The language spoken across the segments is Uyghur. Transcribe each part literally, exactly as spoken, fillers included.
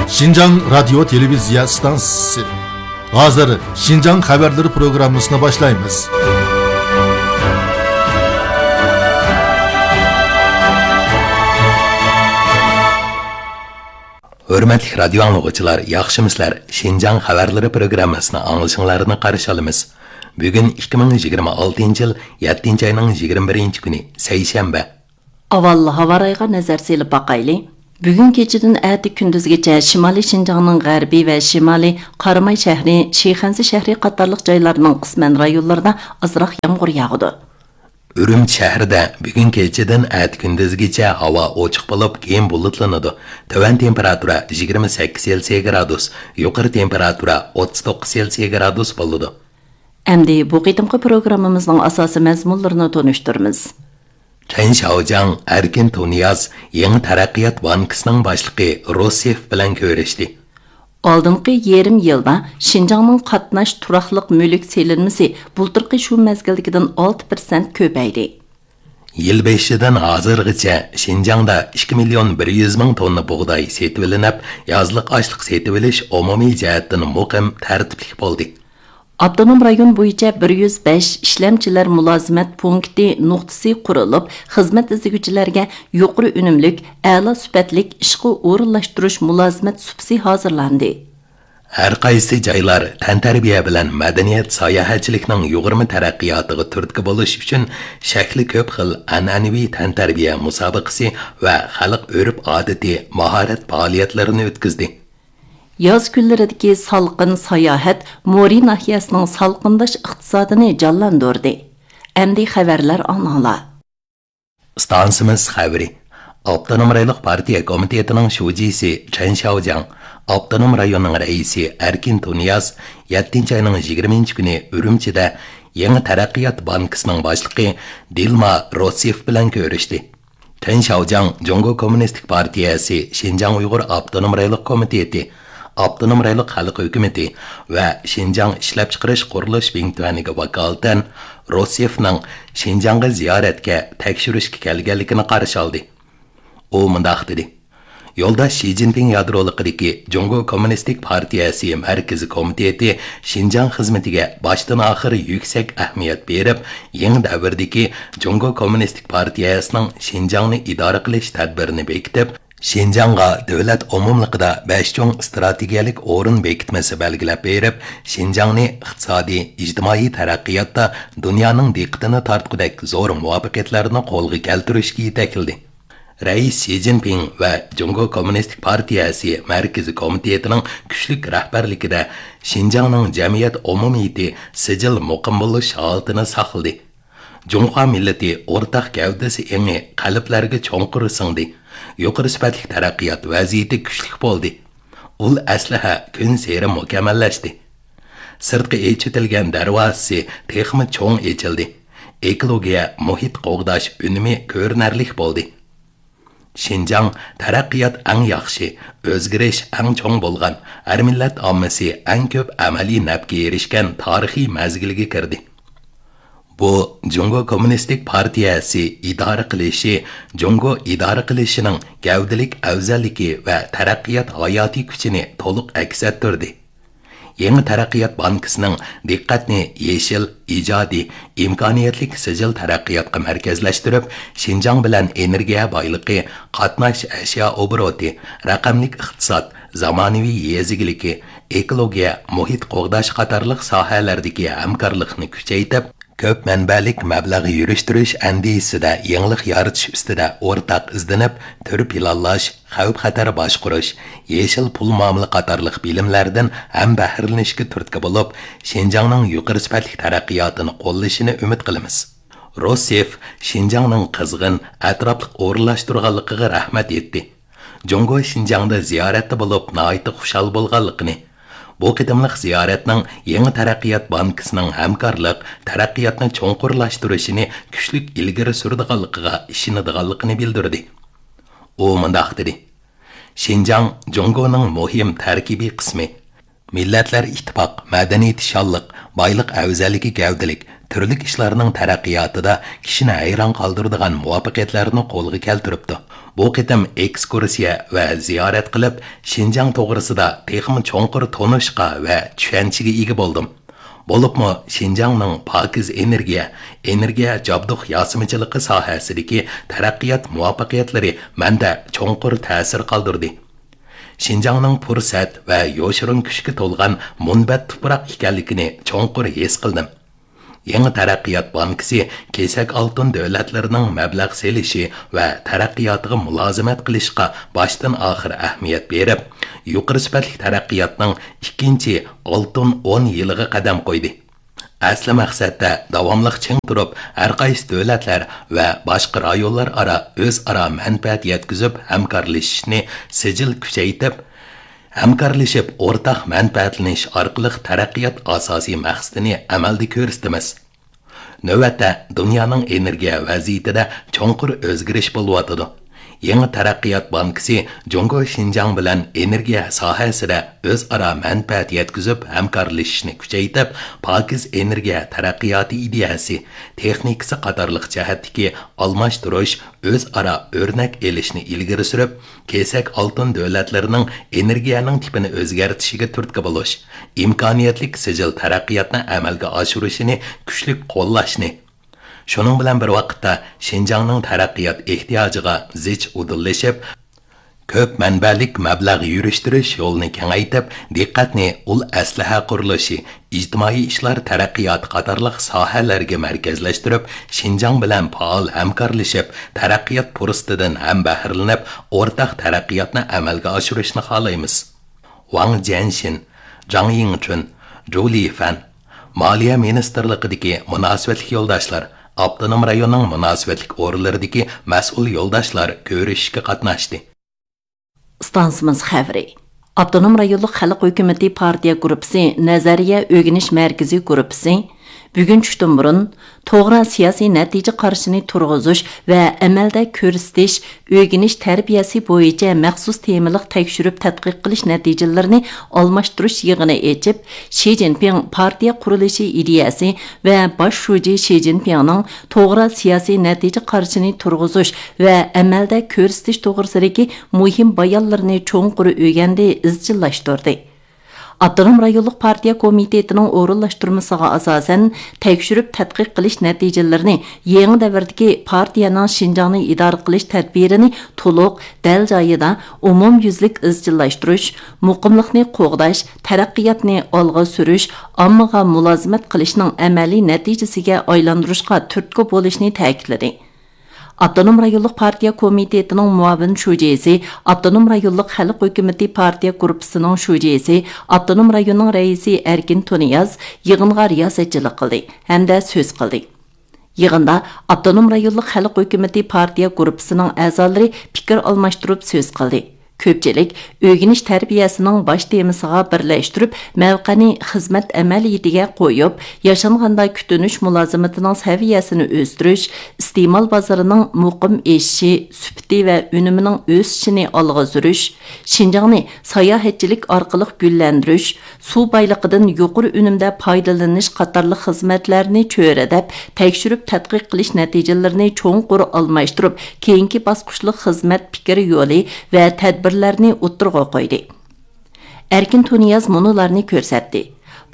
شىنجاڭ رادىيو تېلېۋىزىيە ئىستانسىسى. ھازىر شىنجاڭ خەۋەرلىرى پروگراممىسىنى باشلايمىز. ھۆرمەتلىك رادىيو ئاڭلىغۇچىلار، ياخشىمۇسىلەر؟ شىنجاڭ خەۋەرلىرى پروگراممىسىنى ئاڭلىشىڭلارنى قارشى ئالىمىز. بۈگۈن ئىككى مىڭ يىگىرمە ئالتىنچى يىل يەتتىنچى ئاينىڭ يىگىرمە بىرىنچى كۈنى، سەيشەنبە. ئاۋۋال ھاۋا رايىغا نەزەر سېلىپ باقايلى. بۈگۈن كېچىدىن ئەتە كۈندۈزگىچە شىمالىي شىنجاڭنىڭ غەربىي ۋە شىمالىي، قاراماي شەھىرى، شىخەنزە شەھىرى قاتارلىق جايلارنىڭ قىسمەن رايونلىرىدا ئازراق يامغۇر ياغىدۇ. ئۈرۈمچى شەھىرىدە بۈگۈن كېچىدىن ئەتە كۈندۈزگىچە ھاۋا ئوچۇق بولۇپ، كېيىن بۇلۇتلىنىدۇ. تۆۋەن تېمپېراتۇرا يىگىرمە سەككىز سېلسىيە گرادۇس، يۇقىرى تېمپېراتۇرا ئوتتۇز توققۇز سېلسىيە گرادۇس بولىدۇ. ئەمدى بۇ قېتىمقى پروگراممىمىزنىڭ ئاساسىي مەزمۇنلىرىنى تونۇشتۇرىمىز. چېن شياۋجياڭ ئەركىن تۇنىياز يېڭى تەرەققىيات بانكىسىنىڭ باشلىقى روسىيېف بىلەن كۆرۈشتى. ئالدىنقى يېرىم يىلدا شىنجاڭنىڭ قاتناش تۇراقلىق مۈلۈك سېلىنمىسى بۇلتۇرقى شۇ مەزگىلدىكىدىن ئالتە پىرسەنت كۆپەيدى. يىل بېشىدىن ھازىرغىچە شىنجاڭدا ئىككى مىليون بىر يۈز مىڭ توننا بۇغداي سېتىۋېلىنىپ، يازلىق ئاشلىق سېتىۋېلىش ئومۇمىي جەھەتتىن مۇقىم، تەرتىپلىك بولدى. ئاپتونوم رايون بويىچە بىر يۈز بەش ئىشلەمچىلەر مۇلازىمەت پونكىتى نۇقتىسى قۇرۇلۇپ، خىزمەت ئىزدىگۈچىلەرگە يۇقىرى ئۈنۈملۈك، ئەلا سۈپەتلىك ئىشقا ئورۇنلاشتۇرۇش مۇلازىمەت سۇپىسى ھازىرلاندى. ھەر قايسى جايلار تەنتەربىيە بىلەن مەدەنىيەت، ساياھەتچىلىكنىڭ يۇغۇرما تەرەققىياتىغا تۈرتكە بولۇش ئۈچۈن شەكلى كۆپ خىل ئەنئەنىۋى تەنتەربىيە مۇسابىقىسى ۋە خەلق ئۆرپ-ئادىتى، ماھارەت پائالىيەتلىرىنى ئۆتكۈزدى. ياز كۈنلىرىدىكى سالقىن ساياھەت مورى ناھىيەسىنىڭ سالقىنداش ئىقتىسادىنى جانلاندۇردى. ئەمدى خەۋەرلەر ئاڭلاڭلار. ئىستانسىمىز خەۋىرى. ئاپتونوم رايونلۇق پارتىيە كومىتېتىنىڭ شۇجىسى چېن شياۋجياڭ، ئاپتونوم رايوننىڭ رەئىسى ئەركىن تۇنىياز يەتتىنچى ئاينىڭ يىگىرمىنچى كۈنى ئۈرۈمچىدە يېڭى تەرەققىيات بانكىسىنىڭ باشلىقى دىلما روسىيېف بىلەن كۆرۈشتى. چېن شياۋجياڭ جۇڭگو كوممۇنىستىك پارتىيەسى شىنجاڭ ئۇيغۇر ئاپتونوم رايونلۇق كومىتېتى، ئاپتونوم رايونلۇق خەلق ھۆكۈمىتى ۋە شىنجاڭ ئىشلەپچىقىرىش قۇرۇلۇش بىڭتۈەنىگە ۋاكالىتەن روسىيېفنىڭ شىنجاڭغا زىيارەتكە، تەكشۈرۈشكە كەلگەنلىكىنى قارشى ئالدى. ئۇ مۇنداق دېدى: يولداش شى جىنپىڭ يادرولۇقىدىكى جۇڭگو كوممۇنىستىك پارتىيەسى مەركىزىي كومىتېتى شىنجاڭ خىزمىتىگە باشتىن-ئاخىر يۈكسەك ئەھمىيەت بېرىپ، يېڭى دەۋردىكى جۇڭگو كوممۇنىستىك پارتىيەسىنىڭ شىنجاڭنى ئىدارە قىلىش تەدبىرىنى بېكىتىپ، شىنجاڭغا دۆلەت ئومۇملۇقىدا بەش چوڭ ئىستراتېگىيەلىك ئورۇن بېكىتمىسى بەلگىلەپ بېرىپ، شىنجاڭنى ئىقتىسادىي، ئىجتىمائىي تەرەققىياتتا دۇنيانىڭ دىققىتىنى تارتقۇدەك زور مۇۋەپپەقىيەتلەرنى قولغا كەلتۈرۈشكە يېتەكلىدى. رەئىس شى جىنپىڭ ۋە جۇڭگو كوممۇنىستىك پارتىيەسى مەركىزىي كومىتېتىنىڭ كۈچلۈك رەھبەرلىكىدە شىنجاڭنىڭ جەمئىيەت ئومۇمىيىتى سىجىل مۇقىم بولۇش ھالىتىنى ساقلىدى. جۇڭخۇا مىللىتى ئورتاق گەۋدىسى ئېڭى قەلبلەرگە چوڭقۇر سىڭدى. يۇقىرى سۈپەتلىك تەرەققىيات ۋەزىيىتى كۈچلۈك بولدى. ئۇل ئەسلىھە كۈنسېرى مۇكەممەللەشتى. سىرتقا ئېچىۋېتىلگەن دەرۋازىسى تېخىمۇ چوڭ ئېچىلدى. ئېكولوگىيە، مۇھىت قوغداش ئۈنۈمى كۆرۈنەرلىك بولدى. شىنجاڭ تەرەققىيات ئەڭ ياخشى، ئۆزگىرىش ئەڭ چوڭ بولغان، ھەر مىللەت ئاممىسى ئەڭ كۆپ ئەمەلىي نەپكە ئېرىشكەن تارىخىي مەزگىلگە كىردى. بۇ، جۇڭگو كوممۇنىستىك پارتىيەسى ئىدارە قىلىشى، جۇڭگو ئىدارە قىلىشىنىڭ گەۋدىلىك ئەۋزەللىكى ۋە تەرەققىيات ھاياتىي كۈچىنى تولۇق ئەكس ئەتتۈردى. يېڭى تەرەققىيات بانكىسىنىڭ دىققەتنى يېشىل، ئىجادىي، ئىمكانىيەتلىك سىجىل تەرەققىياتقا مەركەزلەشتۈرۈپ، شىنجاڭ بىلەن ئېنېرگىيە بايلىقى، قاتناش ئەشيا ئوبوروتى، رەقەملىك ئىقتىساد، زامانىۋى يېزا ئىگىلىكى، ئېكولوگىيە، مۇھىت قوغداش قاتارلىق ساھەلەردىكى ھەمكارلىقنى كۈچەيتىپ، كۆپ مەنبەلىك مەبلەغ يۈرۈشتۈرۈش ئەندىزىسىدە يېڭىلىق يارىتىش ئۈستىدە ئورتاق ئىزدىنىپ، تۈر پىلانلاش، خەۋپ-خەتەر باشقۇرۇش، يېشىل پۇل مۇئامىلە قاتارلىق بىلىملەردىن ھەمبەھرىلىنىشكە تۈرتكە بولۇپ، شىنجاڭنىڭ يۇقىرى سۈپەتلىك تەرەققىياتىنى قوللىشىنى ئۈمىد قىلىمىز. روسىيېف شىنجاڭنىڭ قىزغىن، ئەتراپلىق ئورۇنلاشتۇرغانلىقىغا رەھمەت ئېيتتى. جۇڭگو شىنجاڭدا زىيارەتتە بولۇپ ناھايىتى خۇشال بولغانلىقىنى، بۇ قېتىملىق زىيارەتنىڭ يېڭى تەرەققىيات بانكىسىنىڭ ھەمكارلىق، تەرەققىياتنى چوڭقۇرلاشتۇرۇشىنى كۈچلۈك ئىلگىرى سۈرىدىغانلىقىغا ئىشىنىدىغانلىقىنى بىلدۈردى. ئۇ مۇنداق دېدى: شىنجاڭ جۇڭگونىڭ مۇھىم تەركىبىي قىسمى. مىللەتلەر ئىتتىپاق، مەدەنىيىتى شانلىق، بايلىق ئەۋزەللىكى گەۋدىلىك، تۈرلۈك ئىشلارنىڭ تەرەققىياتىدا كىشىنى ھەيران قالدۇرىدىغان مۇۋەپپەقىيەتلەرنى قولغا كەلتۈرۈپتۇ. بۇ قېتىم ئېكسكۇرسىيە ۋە زىيارەت قىلىپ، شىنجاڭ توغرىسىدا تېخىمۇ چوڭقۇر تونۇشقا ۋە چۈشەنچىگە ئىگە بولدۇم. بولۇپمۇ شىنجاڭنىڭ پاكىز ئېنېرگىيە، ئېنېرگىيە جابدۇق ياسىمىچىلىقى ساھەسىدىكى تەرەققىيات مۇۋەپپەقىيەتلىرى مەندە چوڭقۇر تەسىر قالدۇردى. شىنجاڭنىڭ پۇرسەت ۋە يوشۇرۇن كۈچكە تولغان مۇنبەت تۇپراق ئىكەنلىكىنى چوڭقۇر ھېس قىلدىم. يېڭى تەرەققىيات بانكىسى كېسەك ئالتۇن دۆلەتلىرىنىڭ مەبلەغ سېلىشى ۋە تەرەققىياتىغا مۇلازىمەت قىلىشقا باشتىن ئاخىر ئەھمىيەت بېرىپ، يۇقىرى سۈپەتلىك تەرەققىياتنىڭ ئىككىنچى ئالتۇن ئون يىلىغا قەدەم قويدى. ئەسلى مەقسەتتە داۋاملىق چىڭ تۇرۇپ، ھەرقايسى دۆلەتلەر ۋە باشقا رايونلار ئارا ئۆزئارا مەنپەئەت يەتكۈزۈپ ھەمكارلىشىشنى سىجىل كۈچەيتىپ، ھەمكارلىشىپ ئورتاق مەنپەئەتلىنىش ئارقىلىق تەرەققىيات ئاساسىي مەقسىتىنى ئەمەلدە كۆرسىتىمىز. نۆۋەتتە دۇنيانىڭ ئېنېرگىيە ۋەزىيىتىدە چوڭقۇر ئۆزگىرىش بولۇۋاتىدۇ. يېڭى تەرەققىيات بانكىسى جۇڭگو شىنجاڭ بىلەن ئېنېرگىيە ساھەسىدە ئۆزئارا مەنپەئەت يەتكۈزۈپ ھەمكارلىشىشنى كۈچەيتىپ، پاكىز ئېنېرگىيە تەرەققىياتى ئىدىيەسى، تېخنىكىسى قاتارلىق جەھەتتىكى ئالماشتۇرۇش، ئۆزئارا ئۆرنەك ئېلىشنى ئىلگىرى سۈرۈپ، كېسەك ئالتۇن دۆلەتلىرىنىڭ ئېنېرگىيەنىڭ تىپىنى ئۆزگەرتىشىگە تۈرتكە بولۇش، ئىمكانىيەتلىك سىجىل تەرەققىياتنى ئەمەلگە ئاشۇرۇشىنى كۈچلۈك قوللاشنى، شۇنىڭ بىلەن بىر ۋاقىتتا، شىنجاڭنىڭ تەرەققىيات ئېھتىياجىغا زىچ ئۇدۇللىشىپ، كۆپ مەنبەلىك مەبلەغ يۈرۈشتۈرۈش يولىنى كېڭەيتىپ، دىققەتنى ئۇل ئەسلىھە قۇرۇلۇشى، ئىجتىمائىي ئىشلار تەرەققىياتى قاتارلىق ساھەلەرگە مەركەزلەشتۈرۈپ، شىنجاڭ بىلەن پائال ھەمكارلىشىپ، تەرەققىيات پۇرسىتىدىن ھەم بەھرىلىنىپ، ئورتاق تەرەققىياتنى ئەمەلگە ئاشۇرۇشنى خالايمىز. ۋاڭ جيەنشىن، جاڭ يىڭچۈن، جۇ لىفەن، مالىيە مىنىستىرلىقىدىكى مۇناسىۋەتلىك يولداشلار، ئاپتونوم رايوننىڭ مۇناسىۋەتلىك ئورۇنلىرىدىكى مەسئۇل يولداشلار كۆرۈشۈشكە قاتناشتى. ئىستانسىمىز خەۋىرى. ئاپتونوم رايونلۇق خەلق ھۆكۈمىتى پارتىيە گۇرۇپپىسى نەزەرىيە ئۆگىنىش مەركىزى گۇرۇپپىسى بۈگۈن چۈشتىن بۇرۇن توغرا سىياسىي نەتىجە قارىشىنى تۇرغۇزۇش ۋە ئەمەلدە كۆرسىتىش، ئۆگىنىش تەربىيەسى بويىچە مەخسۇس تېمىلىق تەكشۈرۈپ تەتقىق قىلىش نەتىجىلىرىنى ئالماشتۇرۇش يىغىنى ئېچىپ، شى جىنپىڭ پارتىيە قۇرۇلۇشى ئىدىيەسى ۋە باش شۇجى شى جىنپىڭنىڭ توغرا سىياسىي نەتىجە قارىشىنى تۇرغۇزۇش ۋە ئەمەلدە كۆرسىتىش توغرىسىدىكى مۇھىم بايانلىرىنى چوڭقۇر ئۆگەندى، ئىزچىللاشتۇردى. ئاپتونوم رايونلۇق پارتىيە كومىتېتىنىڭ ئورۇنلاشتۇرمىسىغا ئاساسەن، تەكشۈرۈپ تەتقىق قىلىش نەتىجىلىرىنى يېڭى دەۋردىكى پارتىيەنىڭ شىنجاڭنى ئىدارە قىلىش تەدبىرىنى تولۇق، دەل جايىدا، ئومۇميۈزلۈك ئىزچىللاشتۇرۇش، مۇقىملىقنى قوغداش، تەرەققىياتنى ئالغا سۈرۈش، ئاممىغا مۇلازىمەت قىلىشنىڭ ئەمەلىي نەتىجىسىگە ئايلاندۇرۇشقا تۈرتكە بولۇشنى تەكىتلىدى. ئاپتونوم رايونلۇق پارتىيە كومىتېتىنىڭ مۇئاۋىن شۇجىسى، ئاپتونوم رايونلۇق خەلق ھۆكۈمىتى پارتىيە گۇرۇپپىسىنىڭ شۇجىسى، ئاپتونوم رايوننىڭ رەئىسى ئەركىن تۇنىياز يىغىنغا رىياسەتچىلىك قىلدى ھەمدە سۆز قىلدى. يىغىندا ئاپتونوم رايونلۇق خەلق ھۆكۈمىتى پارتىيە گۇرۇپپىسىنىڭ ئەزالىرى پىكىر ئالماشتۇرۇپ سۆز قىلدى. كۆپچىلىك ئۆگىنىش تەربىيەسىنىڭ باش تېمىسىغا بىرلەشتۈرۈپ، مەۋقەنى خىزمەت ئەمەلىيىتىگە قويۇپ، ياشانغاندا كۈتۈنۈش مۇلازىمىتىنىڭ سەۋىيەسىنى ئۆستۈرۈش، ئىستېمال بازىرىنىڭ مۇقىم ئېشىشى، سۈپىتى ۋە ئۈنۈمىنىڭ ئۆسۈشىنى ئالغا سۈرۈش، شىنجاڭنى ساياھەتچىلىك ئارقىلىق گۈللەندۈرۈش، سۇ بايلىقىدىن يۇقىرى ئۈنۈمدە پايدىلىنىش قاتارلىق خىزمەتلەرنى چۆرىدەپ، تەكشۈرۈپ تەتقىق قىلىش نەتىجىلىرىنى چوڭقۇر ئالماشتۇرۇپ، كېيىنكى باسقۇچلۇق خىزمەت پىكىر يولى ۋە تەدبىرلەرنى ئوتتۇرىغا قويدى. ئەركىن تۇنىياز مۇنۇلارنى كۆرسەتتى.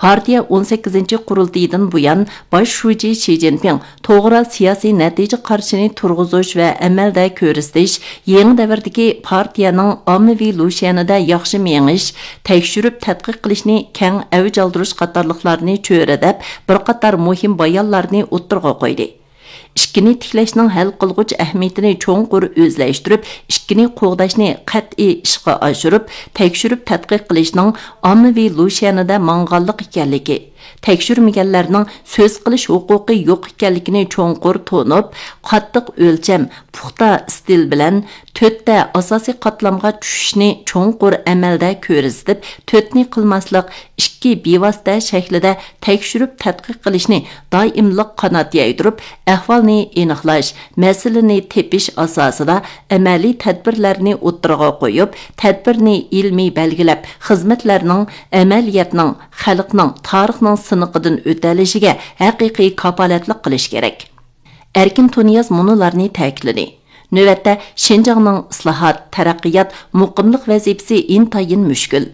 پارتىيە ئون سەككىزىنچى قۇرۇلتىيىدىن بۇيان، باش شۇجى شى جىنپىڭ توغرا سىياسىي نەتىجە قارىشىنى تۇرغۇزۇش ۋە ئەمەلدە كۆرسىتىش، يېڭى دەۋردىكى پارتىيەنىڭ ئاممىۋى لۇشيەنىدە ياخشى مېڭىش، تەكشۈرۈپ تەتقىق قىلىشنى كەڭ ئەۋج ئالدۇرۇش قاتارلىقلارنى چۆرىدەپ، بىر قاتار مۇھىم بايانلارنى ئوتتۇرىغا قويدى. ئىككىنى تىكلەشنىڭ ھەل قىلغۇچ ئەھمىيىتىنى چوڭقۇر ئۆزلەشتۈرۈپ، ئىككىنى قوغداشنى قەتئىي ئىشقا ئاشۇرۇپ، تەكشۈرۈپ تەتقىق قىلىشنىڭ ئاممىۋى لۇشيەنىدە ماڭغانلىق ئىكەنلىكى، تەكشۈرمىگەنلەرنىڭ سۆز قىلىش ھوقۇقى يوق ئىكەنلىكىنى چوڭقۇر تونۇپ، قاتتىق ئۆلچەم، پۇختا ئىستىل بىلەن تۆتتە ئاساسىي قاتلامغا چۈشۈشنى چوڭقۇر ئەمەلدە كۆرسىتىپ، تۆتنى قىلماسلىق، ئىككى بىۋاسىتە شەكلىدە تەكشۈرۈپ تەتقىق قىلىشنى دائىملىق قانات يايدۇرۇپ، ئەھۋال ئېنىقلاش، مەسىلىنى تېپىش ئاساسىدا ئەمەلىي تەدبىرلەرنى ئوتتۇرىغا قويۇپ، تەدبىرنى ئىلمىي بەلگىلەپ، خىزمەتلەرنىڭ ئەمەلىيەتنىڭ، خەلقنىڭ، تارىخنىڭ سىنىقىدىن ئۆتەلىشىگە ھەقىقىي كاپالەتلىك قىلىش كېرەك. ئەركىن تۇنىياز مۇنۇلارنى تەكىتلىدى. نۆۋەتتە، شىنجاڭنىڭ ئىسلاھات، تەرەققىيات، مۇقىملىق ۋەزىپىسى ئىنتايىن مۈشكۈل.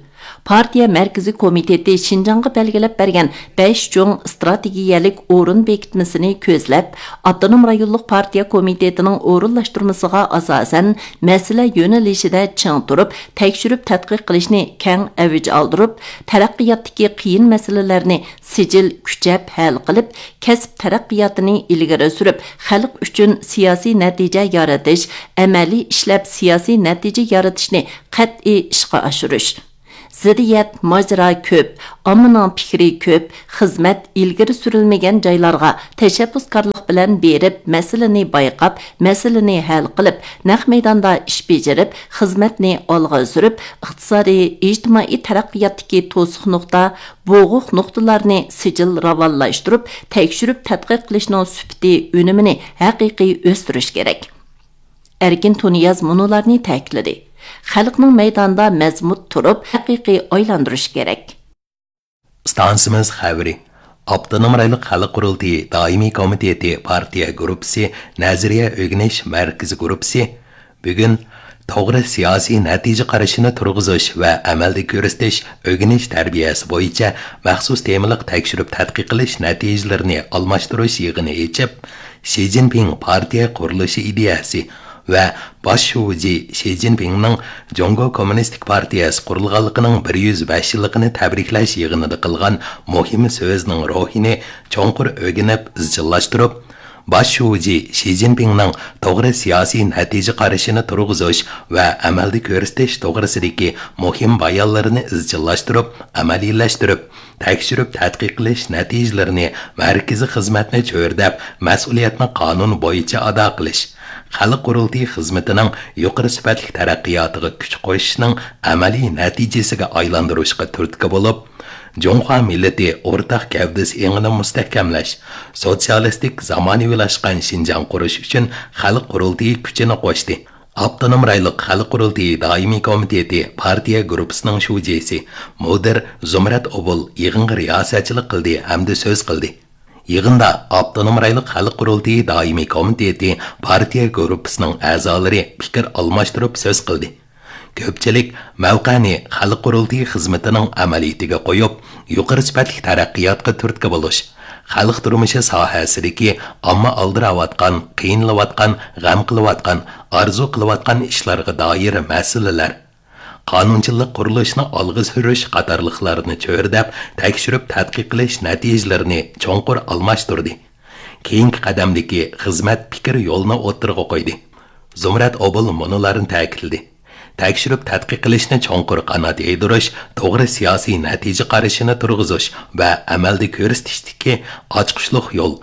پارتىيە مەركىزىي كومىتېتى شىنجاڭغا بەلگىلەپ بەرگەن بەش چوڭ ئىستراتېگىيەلىك ئورۇن بېكىتمىسىنى كۆزلەپ، ئاپتونوم رايونلۇق پارتىيە كومىتېتىنىڭ ئورۇنلاشتۇرمىسىغا ئاساسەن، مەسىلە يۆنىلىشىدە چىڭ تۇرۇپ، تەكشۈرۈپ تەتقىق قىلىشنى كەڭ ئەۋج ئالدۇرۇپ، تەرەققىياتتىكى قىيىن مەسىلىلەرنى سىجىل كۈچەپ ھەل قىلىپ، كەسىپ تەرەققىياتىنى ئىلگىرى سۈرۈپ، خەلق ئۈچۈن سىياسىي نەتىجە يارىتىش، ئەمەلىي ئىشلەپ سىياسىي نەتىجە يارىتىشنى قەتئىي ئىشقا ئاشۇرۇش. زىددىيەت، ماجىرا كۆپ، ئاممىنىڭ پىكرى كۆپ، خىزمەت ئىلگىرى سۈرۈلمىگەن جايلارغا تەشەببۇسكارلىق بىلەن بېرىپ، مەسىلىنى بايقاپ، مەسىلىنى ھەل قىلىپ، نەق مەيداندا ئىش بېجىرىپ، خىزمەتنى ئالغا سۈرۈپ، ئىقتىسادىي، ئىجتىمائىي تەرەققىياتتىكى توسۇق نۇقتا، بوغۇق نۇقتىلارنى سىجىل راۋانلاشتۇرۇپ، تەكشۈرۈپ تەتقىق قىلىشنىڭ سۈپىتى، ئۈنۈمىنى ھەقىقىي ئۆستۈرۈش كېرەك. ئەركىن تۇنىياز مۇنۇلارنى تەكىتلىدى: خەلقنىڭ مەيداندا مەزمۇت تۇرۇپ، ھەقىقىي ئايلاندۇرۇش كېرەك. ئىستانسىمىز خەۋىرى. ئاپتونوم رايونلۇق خەلق قۇرۇلتىيى دائىمىي كومىتېتى پارتىيە گۇرۇپپىسى نەزەرىيە ئۆگىنىش مەركىزى گۇرۇپپىسى بۈگۈن توغرا سىياسىي نەتىجە قارىشىنى تۇرغۇزۇش ۋە ئەمەلدە كۆرسىتىش ئۆگىنىش تەربىيەسى بويىچە مەخسۇس تېمىلىق تەكشۈرۈپ تەتقىق قىلىش نەتىجىلىرىنى ئالماشتۇرۇش يىغىنى ئېچىپ، شى جىنپىڭ پارتىيە قۇرۇلۇشى ئىدىيەسى ۋە باش شۇجى شى جىنپىڭنىڭ جۇڭگو كوممۇنىستىك پارتىيەسى قۇرۇلغانلىقىنىڭ بىر يۈز بەش يىللىقىنى تەبرىكلەش يىغىنىدا قىلغان مۇھىم سۆزىنىڭ روھىنى چوڭقۇر ئۆگىنىپ ئىزچىللاشتۇرۇپ، باش شۇجى شى جىنپىڭنىڭ توغرا سىياسىي نەتىجە قارىشىنى تۇرغۇزۇش ۋە ئەمەلدە كۆرسىتىش توغرىسىدىكى مۇھىم بايانلىرىنى ئىزچىللاشتۇرۇپ، ئەمەلىيلەشتۈرۈپ، تەكشۈرۈپ تەتقىق قىلىش نەتىجىلىرىنى مەركىزىي خىزمەتنى چۆرىدەپ، مەسئۇلىيەتنى قانۇن بويىچە ئادا قىلىش، خەلق قۇرۇلتىيى خىزمىتىنىڭ يۇقىرى سۈپەتلىك تەرەققىياتىغا كۈچ قوشۇشنىڭ ئەمەلىي نەتىجىسىگە ئايلاندۇرۇشقا تۈرتكە بولۇپ، جۇڭخۇا مىللىتى ئورتاق گەۋدىسى ئېڭىنى مۇستەھكەملەش، سوتسىيالىستىك زامانىۋىلاشقان شىنجاڭ قۇرۇش ئۈچۈن خەلق قۇرۇلتىيى كۈچىنى قوشتى. ئاپتونوم رايونلۇق خەلق قۇرۇلتىيى دائىمىي كومىتېتى پارتىيە گۇرۇپپىسىنىڭ شۇجىسى، مۇدىر زۇمرەت ئوبۇل يىغىنغا رىياسەتچىلىك قىلدى ھەمدە سۆز قىلدى. يىغىندا ئاپتونوم رايونلۇق خەلق قۇرۇلتىيى دائىمىي كومىتېتى پارتىيە گۇرۇپپىسىنىڭ ئەزالىرى پىكىر ئالماشتۇرۇپ سۆز قىلدى. كۆپچىلىك مەۋقەنى خەلق قۇرۇلتىيى خىزمىتىنىڭ ئەمەلىيىتىگە قويۇپ، يۇقىرى سۈپەتلىك تەرەققىياتقا تۈرتكە بولۇش، خەلق تۇرمۇشى ساھەسىدىكى ئامما ئالدىراۋاتقان، قىينىلىۋاتقان، غەم قىلىۋاتقان، ئارزۇ قىلىۋاتقان ئىشلارغا دائىر مەسىلىلەر، قانۇنچىلىق قۇرۇلۇشىنى ئالغا سۈرۈش قاتارلىقلارنى چۆرىدەپ، تەكشۈرۈپ تەتقىق قىلىش نەتىجىلىرىنى چوڭقۇر ئالماشتۇردى. كېيىنكى قەدەمدىكى خىزمەت پىكىر يولىنى ئوتتۇرىغا قويدى. زۇمرەت ئوبۇل مۇنۇلارنى تەكىتلىدى: تەكشۈرۈپ تەتقىق قىلىشنى چوڭقۇر قانات يايدۇرۇش، توغرا سىياسىي نەتىجە قارىشىنى تۇرغۇزۇش ۋە ئەمەلدە كۆرسىتىشتىكى ئاچقۇچلۇق يول.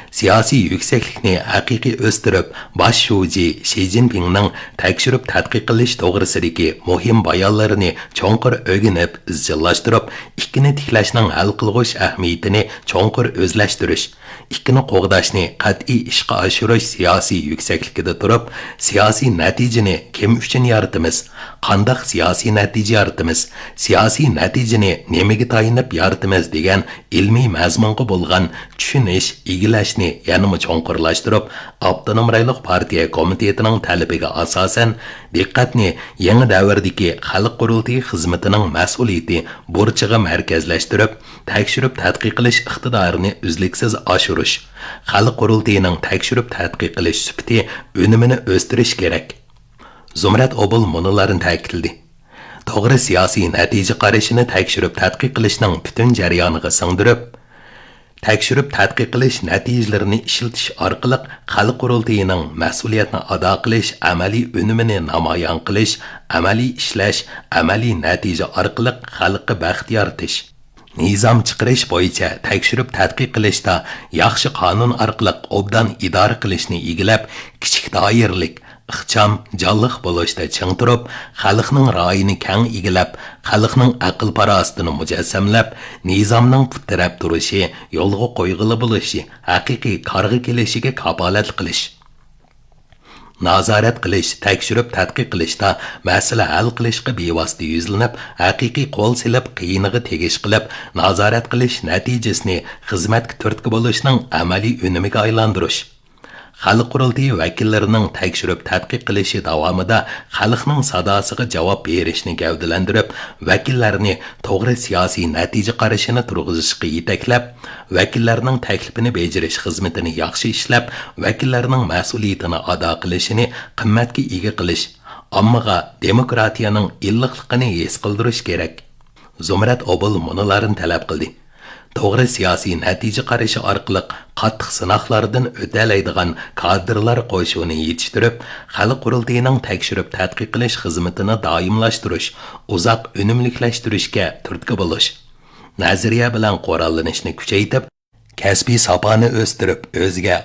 سىياسىي يۈكسەكلىكنى ھەقىقىي ئۆستۈرۈپ، باش شۇجى شى جىنپىڭنىڭ تەكشۈرۈپ تەتقىق قىلىش توغرىسىدىكى مۇھىم بايانلىرىنى چوڭقۇر ئۆگىنىپ، ئىزچىللاشتۇرۇپ، ئىككىنى تىكلەشنىڭ ھەل قىلغۇچ ئەھمىيىتىنى چوڭقۇر ئۆزلەشتۈرۈش، ئىككىنى قوغداشنى قەتئىي ئىشقا ئاشۇرۇش سىياسىي يۈكسەكلىكىدە تۇرۇپ، سىياسىي نەتىجىنى كىم ئۈچۈن يارىتىمىز، قانداق سىياسىي نەتىجە يارىتىمىز، سىياسىي نەتىجىنى نېمىگە تايىنىپ يارىتىمىز دېگەن ئىلمىي مەزمۇنغا بولغان چۈشىنىش، ئىگىلەشنى يەنىمۇ چوڭقۇرلاشتۇرۇپ، ئاپتونوم رايونلۇق پارتىيە كومىتېتىنىڭ تەلىپىگە ئاساسەن، دىققەتنى يېڭى دەۋردىكى خەلق قۇرۇلتىيى خىزمىتىنىڭ مەسئۇلىيىتى بۇرچىغا مەركەزلەشتۈرۈپ، تەكشۈرۈپ تەتقىق قىلىش ئىقتىدارىنى ئۈزلۈكسىز ئاشۇرۇش، خەلق قۇرۇلتىيىنىڭ تەكشۈرۈپ تەتقىق قىلىش سۈپىتى، ئۈنۈمىنى ئۆستۈرۈش كېرەك. زۇمرەت ئوبۇل مۇنۇلارنى تەكىتلىدى: توغرا سىياسىي نەتىجە قارىشىنى تەكشۈرۈپ تەتقىق قىلىشنىڭ پۈتۈن جەريانىغا سىڭدۈرۈپ، تەكشۈرۈپ تەتقىق قىلىش نەتىجىلىرىنى ئىشلىتىش ئارقىلىق خەلق قۇرۇلتىيىنىڭ مەسئۇلىيەتنى ئادا قىلىش ئەمەلىي ئۈنۈمىنى نامايان قىلىش، ئەمەلىي ئىشلەش، ئەمەلىي نەتىجە ئارقىلىق خەلققە بەخت يارىتىش، نىزام چىقىرىش بويىچە تەكشۈرۈپ تەتقىق قىلىشتا ياخشى قانۇن ئارقىلىق ئوبدان ئىدارە قىلىشنى ئىگىلەپ، كىچىك دائىرىلىك، ئىخچام، جانلىق بولۇشتا چىڭ تۇرۇپ، خەلقنىڭ رايىنى كەڭ ئىگىلەپ، خەلقنىڭ ئەقىل-پاراسىتىنى مۇجەسسەملەپ، نىزامنىڭ پۇت تىرەپ تۇرۇشى، يولغا قويغىلى بولۇشى، ھەقىقىي كارغا كېلىشىگە كاپالەتلىك قىلىش. نازارەت قىلىش، تەكشۈرۈپ تەتقىق قىلىشتا مەسىلە ھەل قىلىشقا بىۋاسىتە يۈزلىنىپ، ھەقىقىي قول سېلىپ، قىيىنىغا تېگىش قىلىپ، نازارەت قىلىش نەتىجىسىنى خىزمەتكە تۈرتكە بولۇشنىڭ ئەمەلىي ئۈنۈمىگە ئايلاندۇرۇش. خەلق قۇرۇلتىيى ۋەكىللىرىنىڭ تەكشۈرۈپ تەتقىق قىلىشى داۋامىدا خەلقنىڭ ساداسىغا جاۋاب بېرىشنى گەۋدىلەندۈرۈپ، ۋەكىللەرنى توغرا سىياسىي نەتىجە قارىشىنى تۇرغۇزۇشقا يېتەكلەپ، ۋەكىللەرنىڭ تەكلىپىنى بېجىرىش خىزمىتىنى ياخشى ئىشلەپ، ۋەكىللەرنىڭ مەسئۇلىيىتىنى ئادا قىلىشىنى قىممەتكە ئىگە قىلىش، ئاممىغا دېموكراتىيەنىڭ ئىللىقلىقىنى ھېس قىلدۇرۇش كېرەك. زۇمرەت ئوبۇل مۇنۇلارنى تەلەپ قىلدى. توغرا سىياسىي نەتىجە قارىشى ئارقىلىق قاتتىق سىناقلاردىن ئۆتەلەيدىغان كادىرلار قوشۇنى يېتىشتۈرۈپ، خەلق قۇرۇلتىيىنىڭ تەكشۈرۈپ تەتقىق قىلىش خىزمىتىنى دائىملاشتۇرۇش، ئۇزاق ئۈنۈملۈكلەشتۈرۈشكە تۈرتكە بولۇش، نەزەرىيە بىلەن قوراللىنىشنى كۈچەيتىپ، كەسپىي ساپانى ئۆستۈرۈپ، ئۆزىگە